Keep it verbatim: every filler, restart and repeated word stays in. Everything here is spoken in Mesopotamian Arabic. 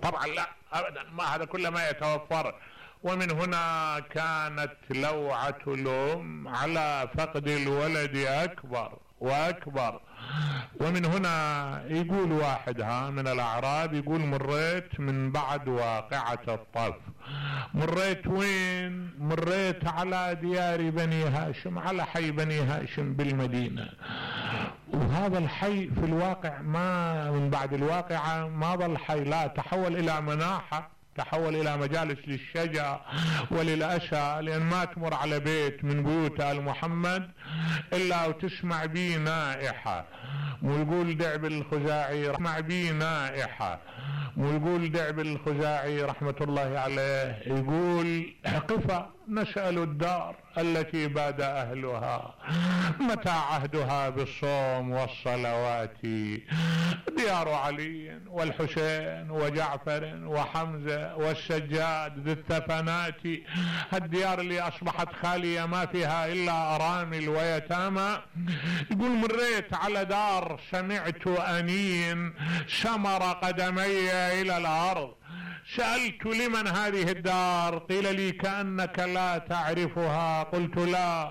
طبعا لا ابدا، ما هذا كله ما يتوفر. ومن هنا كانت لوعة الأم على فقد الولد أكبر وأكبر. ومن هنا يقول واحد ها من الأعراب، يقول مريت من بعد واقعة الطف. مريت وين؟ مريت على ديار بني هاشم، على حي بني هاشم بالمدينة. وهذا الحي في الواقع ما من بعد الواقعة ما ظل حي، لا تحول إلى مناحة، تحول إلى مجالس للشجع وللأسى، لأن ما تمر على بيت من بيوت آل محمد إلا وتسمع بيه نائحة. ويقول دعب الخزاعي اسمع بيه نائحة. ويقول دعب الخزاعي رحمة الله عليه يقول قفا نسأل الدار التي باد أهلها متى عهدها بالصوم والصلوات، ديار علي والحسين وجعفر وحمزة والسجاد ذي الثفنات، هالديار اللي أصبحت خالية ما فيها إلا أرامل ويتامى. يقول مريت على دار سمعت أنين سمر قدمي إلى الأرض، سألت لمن هذه الدار؟ قيل لي كأنك لا تعرفها. قلت لا،